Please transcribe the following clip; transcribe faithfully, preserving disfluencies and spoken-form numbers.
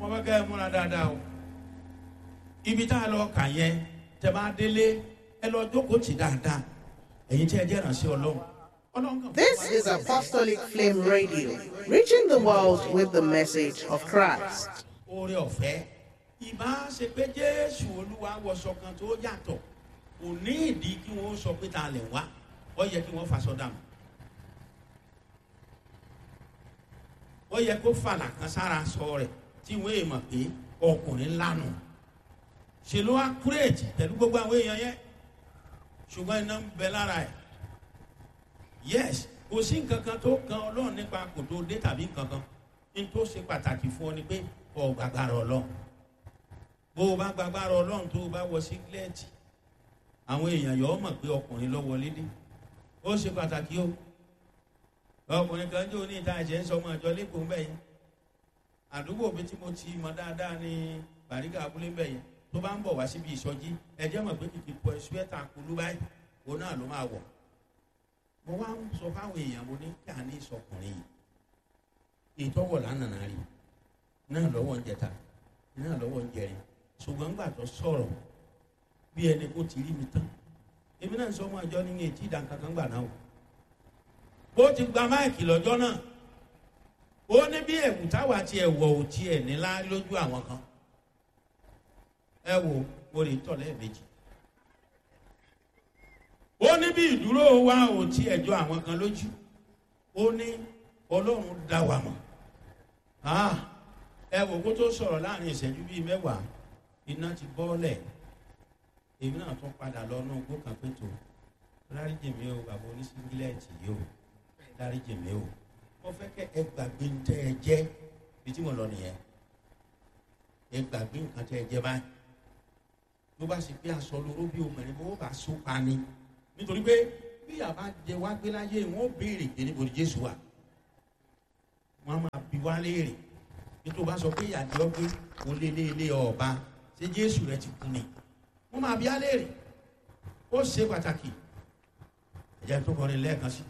Mo fẹ́ kẹ́ ẹ múra dáadáa o. Ibi tá a lọ kà yẹn, tẹ́ bá délé, ẹ lọ jókòó tì dáadáa. Ẹ̀yin tí ẹ jẹ́ ìrànṣẹ́ Ọlọ́run. Ọlọ́run kàn fún This wa. is Apostolic Flame Radio, reaching the world with the message of Christ. Oore ọ̀fẹ́, ìbá ṣe pé Jésù Olúwa wọṣọ kan tó yàtọ̀, kò ní ìdí kí wọ́n sọ pé ta lẹ̀ wá. Ó yẹ kí wọ́n faṣọ dànù, ó yẹ kó fàlà kan sára sọ rẹ̀ tí wọ́n èèmọ̀ pé ọkùnrin ńlá nù. Ṣe ló wá kúrèjì pẹ̀lú gbogbo àwọn èèyàn yẹn, ṣùgbọ́n iná ń bẹ lára ẹ̀. Yes, kò sí nǹkan kan tó kan Ọlọ́run nípa kò tó dé tàbí nǹkan kan. Ní tó ṣe pàtàkì fún ọ ni pé ọ gbàgbára Ọlọ́run. Bó o bá gbàgbára Ọlọ́run, tó o bá wọ sígílẹ́ẹ̀tì, àwọn èèyàn yọ̀ ọ́ mọ̀ pé ọkùnrin ló wọlé dé. Ó ṣe pàtàkì o. Ọkùnrin kan jó ní ìta ẹ̀jẹ̀ ń sọ ọmọ àjọ lẹ́kọ̀ọ́ ń bẹ̀ yẹn. Àdúgbò mi tí mo ti mọ dáadáa ní Bàrígà abúlé ń bẹ̀ yẹn. Tó bá ń bọ̀ wá síbi ìsọjí, ẹ̀jẹ̀ mọ̀ pé kìkì pọ̀ ṣúẹ́tà kulú báyìí òun náà ló máa wọ̀. Mo wá ń sọ fáwọn èèyàn, mo ní kí a ní ìsọkùnrin yìí, ìtọ́wọ̀ lánàá rí náà lọ́wọ́ ń jẹta náà lọ́wọ́ ń jẹrin. Ṣùgbọ́n gbà tó sọ̀rọ̀ bí ẹni kó ti rí mi tán, èmi náà ń sọ ọmọ àjọ ní etí ìdánkankan gbà náà o. Bó ti gba máìkì lọ́jọ́ náà, ó ní bí ẹ̀wù táwa ti ẹ̀wọ̀ ò tiẹ̀ nílá lójú àwọn kan. Ẹ wo, mo lè tọ̀ lẹ́ẹ̀mejì. Ó ní bí ìdúró wa ò tí ẹjọ́ àwọn kan lójú. Ó ní Ọlọ́run dá wa mọ̀. Ah, ẹ wò kó tó sọ̀rọ̀, láàrin ìṣẹ́jú bíi mẹ́wàá, iná ti bọ́ọ̀lẹ̀. Èmi náà tún padà lọ náà gbó kan pé tó dáríjì mi o, bàbá oníṣíngílẹ̀tì yìí o, dáríjì mi o. Mo fẹ́ kẹ́ ẹ gbàgbé ń tẹ́ ẹ jẹ́ bí tí mo lọ nìyẹn. Ẹ gbàgbé nǹkan tẹ́ ẹ jẹ́ báyìí. Ló bá sì pé aṣọ lóró bí obìnrin bó bá so pa ni, nítorí pé bí àbá jẹ wá gbé láyé, wọn ó béèrè pé níbo ni Jésù wà. Wọn á máa bi wá léèrè. Nítorí bá sọ pé ìyàdí ọgbẹ oléléèlé ọba, ṣé Jésù rẹ ti kú ni? Wọn máa bi á léèrè. Ó ṣe pàtàkì. Ẹ̀jẹ̀ tó kọrin lẹ́ẹ̀kan sí i.